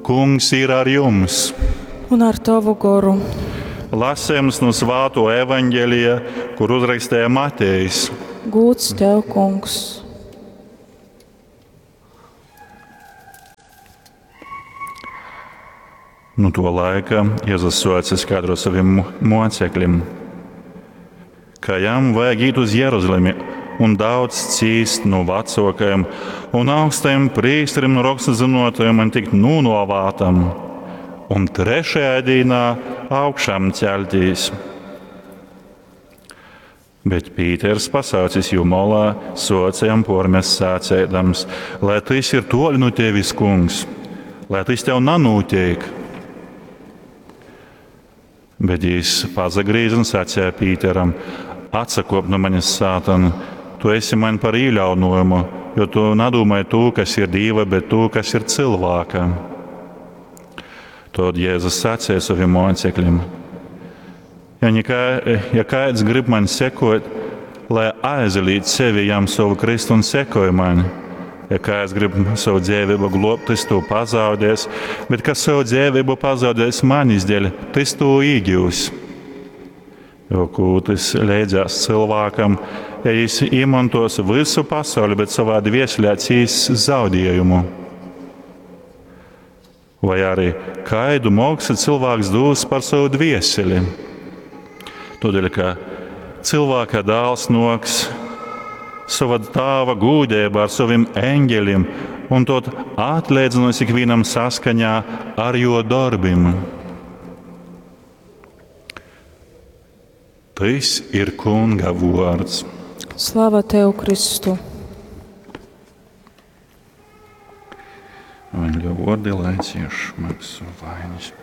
Kungs ir ar jums! Un ar tovu goru. Lasījums no Svāto evaņģēlija, kur uzrakstīja Matejs. Gūds tev, kungs! Nu to laika Jēzus soca skaidrot saviem mocekļiem, ka jam vajag iet uz Jeruzalemi un daudz cīst no vecākajiem un augstajiem prīsteriem un rakstu zinotajiem un tikt nonovātam, un trešajā dienā augšām celtīs. Bet Pīters pasaucis jū molā, soca jam pormest sācēdams, lai tas ir toļ no tevis, kungs, lai tas tev nanūtiek. Bet jis pazagrīza un sacīja Pīteram: Atsakop no manis, sātan, tu esi man par īļaunojumu, jo tu nadomāji to, kas ir Dieva, bet to, kas ir cilvēka. Tad Jēzus sacīja saviem mocekļiem: Ja, nekā, ja kāds grib man sekot, lai aizliedz sevi jam savu Kristu un sekoja man. Ja kāds grib savu dzīvību globt, tas to pazaudēs, bet kas savu dzīvību pazaudēs manis dēļ, tas to iegūs. Jo ko tas leidzās cilvēkam, ja viņš iemantos visu pasauli, bet savā dvieselē cīs zaudējumu. Vai arī kaidu moksu cilvēks dos par savu dvieseli. Tādēļ, ka cilvēka dēls noks sava tāva gūdība ar saviem eņģeļiem un tot atliedzinos ikvienam saskaņā ar jo darbim. Tas ir Kunga vārds. Slava tev, Kristu! Evaņģeļa vārdi, lai cieš maksu vainas.